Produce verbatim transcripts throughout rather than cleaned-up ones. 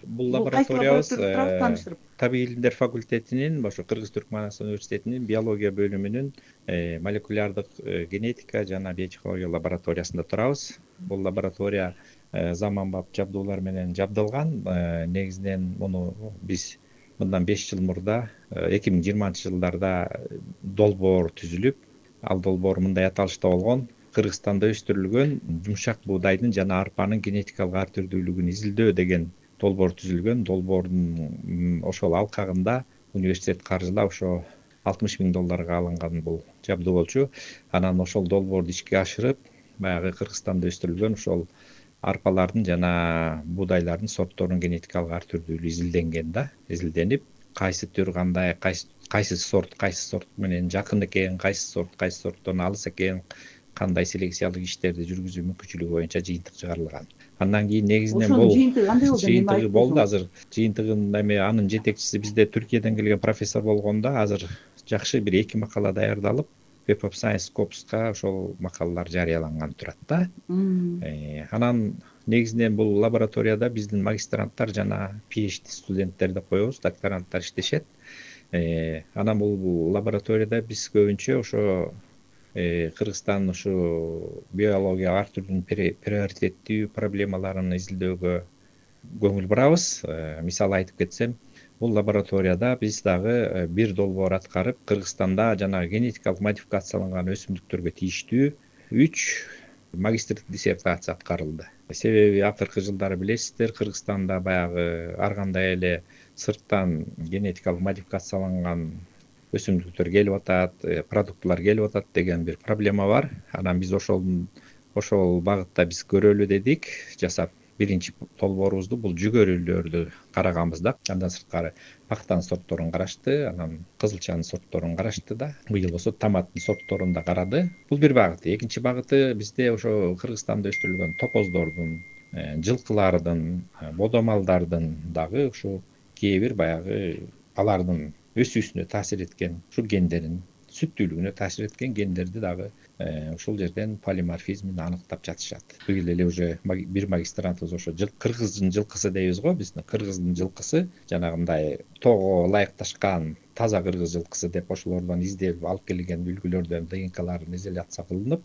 Бул Бул кайсы лабораториябыз лаборатория туралы тааныштырып. Табий илимдер факультетинин ошо Кыргыз-Түркмөнстан университетинин биология бөлүмүнүн молекулярдык генетика жана биотехнология лабораториясында турабыз. Бул лаборатория заманбап жабдуулар менен жабдылган. Негизинен муну биз мындан беш жыл мурда эки миң жыйырманчы жылдарда долбоор түзүлүп, ал долбоор мындай аталышта болгон: Кыргызстанда өстүрүлгөн жумшак буудайдын жана арпанын генетикалык ар түрдүүлүгүн изилдөө деген долбоор түзүлгөн. Долбоордун ошол алкагында университет каржылап ошо алтымыш миң долларга алынган бул жабдуу болчу. Анан ошол долбоорду ишке ашырып, баягы Кыргызстанда өстүрүлгөн ошол арпалардын жана буудайлардын сортторунун генетикалык ар түрдүүлүгү изилденген да, изилденип, кайсы түр кандай, кайсы кайсы сорт кайсы сорт менен жакын экен, кайсы сорт кайсы сорттон алыс экен, кандай селекциялык иштерди жүргүзүү мүмкүнчүлүгү боюнча жыйынтык чыгарылган. Андан кийин негизинен Ошонун бул жыйынтыгы кандай болду? Эми жыйынтыгы болду. айтып Азыр жыйынтыгын эми анын жетекчиси бизде Түркияден келген профессор болгондо, азыр жакшы бир эки макала даярдалып, Web of Science Scopes'ка ошол макалалар жарыяланган турат да. Анан негизинен бул лабораторияда биздин магистранттар жана PhD студенттер деп коебуз, докторанттар иштешет. Анан бул лабораторияда биз көбүнчө ошо Кыргызстандын ушу биология ар түрдүү приоритеттүү проблемаларын изилдөөгө көңүл бурабыз. Мисалы айтып кетсем, бул лабораторияда биз дагы бир долбоор аткарып, Кыргызстанда жана генетикалык модификацияланган өсүмдүктөргө тийиштүү үч магистрлик диссертация аткарылды. Себеби акыркы жылдары билесиздер, Кыргызстанда баягы ар кандай эле сырттан генетикалык модификацияланган өсүмдүктөр келип атат, продуктылар келип атат деген бир проблема бар. Анан биз ошол ошол багытта биз көрөлү дедик, жасап биринчи долбоорубузду бул жүгөрүлөрдү караганбыз да. Андан сырткары пактанын сортторун карашты, анан кызылчанын сортторун карашты да. Быйыл болсо томаттын сортторун да карады. Бул бир багыты. Экинчи багыты бизде ошо Кыргызстанда өстүрүлгөн топоздордун, жылкылардын, бодомалдардын дагы ушу кээ бир баягы алардын өсүүсүнө таасир эткен, ушу гендерин сүттүүлүгүнө таасир эткен гендерди дагы ушул жерден полиморфизмин аныктап жатышат. Быйыл эле уже бир магистрантыбыз ошо кыргыздын жылкысы дейбиз го, биздин кыргыздын жылкысы, жанагындай тоого ылайыкташкан таза кыргыз жылкысы деп ошолордон издеп алып келген үлгүлөрдөн ДНКларын изоляция кылынып,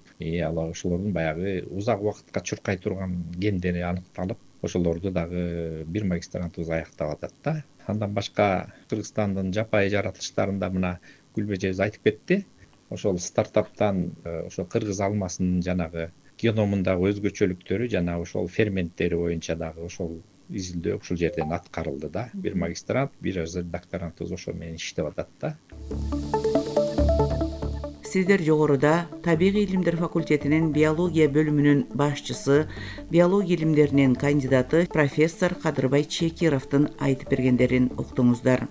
ал ошолордун баягы узак убакытка чуркай турган гендери аныкталып, ошолорду дагы бир магистрантыбыз аяктап атат да. Андан башка Кыргызстандын жапайы жаратылыштарында мына Гүлбежебиз айтып кетти. Ошол стартаптан ошо кыргыз алмасынын жанагы геномундагы өзгөчөлүктөрү жана ошол ферменттери боюнча дагы ошол изилдөө ушул жерден аткарылды да. Бир магистрант, бир докторантыбыз ошол менен иштеп атат да. Сиздер жогоруда Табигый илимдер факультетинин биология бөлүмүнүн башчысы, биология илимдеринин кандидаты профессор Кадырбай Чекировдун айтып бергендерин уктуңуздар.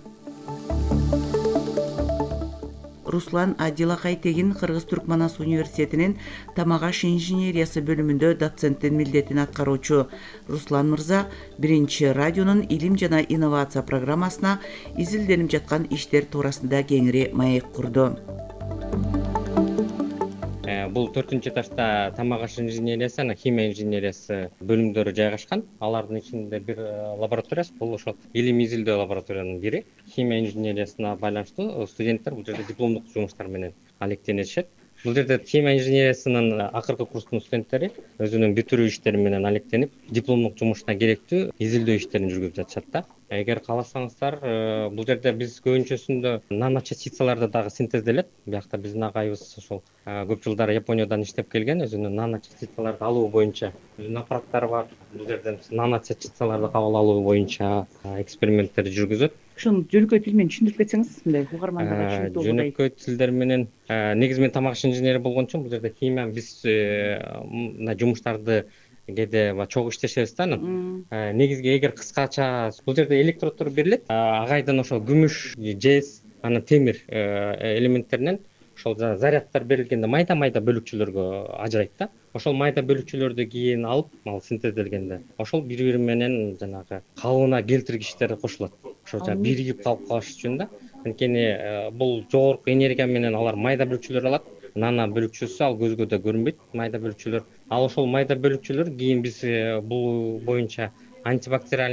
Руслан Адилакай-Тегин Кыргыз-Түркмөнстан университетинин тамак аш инженериясы бөлүмүндө доценттин милдетин аткаруучу. Руслан мырза биринчи радионун илим жана инновация программасына изилденип жаткан иштер туурасында кеңири маек курду. Бул төртүнчү этажда тамак аш инженериясы жана химия инженериясы бөлүмдөрү жайгашкан. Алардын ичинде бир лабораториясы, бул ошол илимий изилдөө лабораториянын бири. Химия инженериясына байланыштуу студенттер бул жерде дипломдук жумуштар менен алектенишет. Бул жерде химия инженериясынын акыркы курстун студенттери өзүнүн бүтүрүү иштери менен алектенип, дипломдук жумушуна керектүү изилдөө иштерин жүргүзүп жатышат да. Эгер кааласаңыздар, бул жерде биз көбүнчөсүндө наночастицаларды дагы синтезделет. Биякта биздин агайыбыз ошол көп жылдар Япониядан иштеп келген, өзүнүн наночастицаларды алуу боюнча өзүнүн аппараттары бар. Бул жерден наночастицаларды кабыл алуу боюнча эксперименттерди жүргүзөт. Ошону жөнөкөй тил менен түшүндүрүп кетсеңиз, мындай угармандарга түшүнүктүү болот. Жөнөкөй тилдер менен негизи мен тамак аш инженери болгон үчүн бул жерде химия биз мындай жумуштарды кээде чогуу иштешебиз да. Негизги эгер кыскача бул жерде электроддор берилет. Агайдын ошол күмүш, жез, анан темир элементтеринен ошол заряддар берилгенде майда-майда бөлүкчөлөргө ажырайт да. Ошол майда бөлүкчөлөрдү кийин алып, ал синтезделгенде ошол бири-бири менен жанагы калыбына келтиргичтер кошулат. Ошо биригип калып калыш үчүн да. Анткени бул жогорку энергия менен алар майда бөлүкчөлөр алат. Нана бөлүкчөсү ал көзгө да көрүнбөйт, майда бөлүкчөлөр. Ал ошол майда бөлүкчөлөр кийин биз бул боюнча антибактериальный